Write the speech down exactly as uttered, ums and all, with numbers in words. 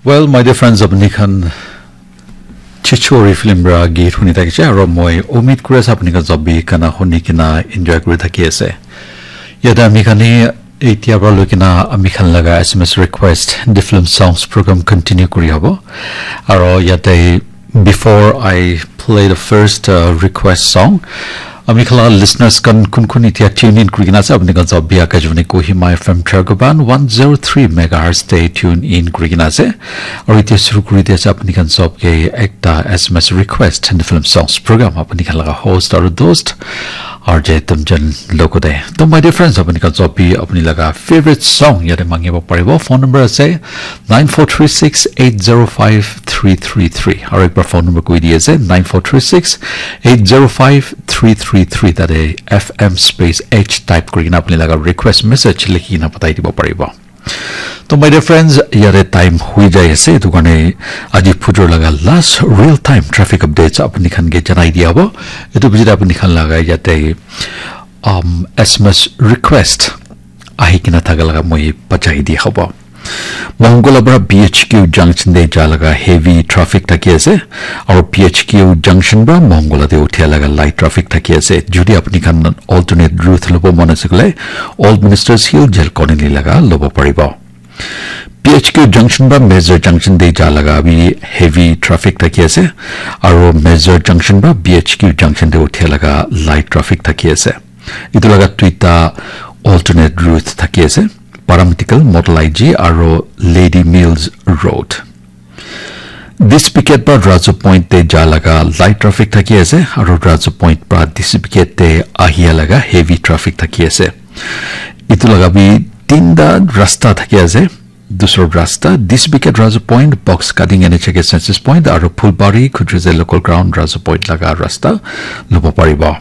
Well, my dear friends, apni khan Chichori film ra git huni thakise, aro moi umid kuri ase apni khan sob bi gana huni kena enjoy kuri thaki ase. Yate ami khan ni etia pra loi kena ami khan laga S M S request, the film songs program continue kuri hobo. Aro yate, before I play the first uh, request song, ami khan laga listeners khan kun kun itia tune in kuri kena ase, apni khan sob bi Akashvani Kohima F M Thargoban one zero three megahertz te tune in kuri kena ase. Aro itia shuru kuri dia ase apni khan sob ke ekta S M S request, the film songs program, apni khan laga host aro dost R J Tumjan logo de. To my dear friends, apni khan sob bi apni laga favorite song yate mangibo paribo. Phone number ase nine four three six eight zero five three three three. Aro ekbar phone number koi di ase nine four three six eight zero five three three three. Tate F M space H type kuri kena apni laga request message likhi kena patai dibo paribo. To my dear friends, yate time hui jai ase, etu karne aji phujor laga last real time traffic updates apni khan ke janai dia hobo. Etu biji apni khan laga yate um, S M S request ahi kena thaka laga moi bachai dia hobo. Mongola pra B H Q junction de ja laga heavy traffic thaki ase, aro B H Q junction pra Mongola de uthia laga light traffic thaki ase. Jodi apni khan alternate route lobo mon ase koile, Old Ministers Hill Jail Colony laga lobo paribo. B H Q junction pra Major junction de ja laga bi heavy traffic thaki ase, aro Major junction pra B H Q junction de uthia laga light traffic thaki ase. Etu laga duita alternate route thaki ase, Paramedical, Model I G aro Lady Mills Road. Dispicate pra Razu Point te ja laga light traffic thaki ase, aro Razu Point pra Dispicate te ahia laga heavy traffic thaki ase. Etu laga bi tinta rasta thaki ase. Dusra rasta, Dispicate Razu Point, Box Cutting N H K Census Point, aro Phulbari, Khujuse Local Ground, Razu Point laga rasta lobo paribo.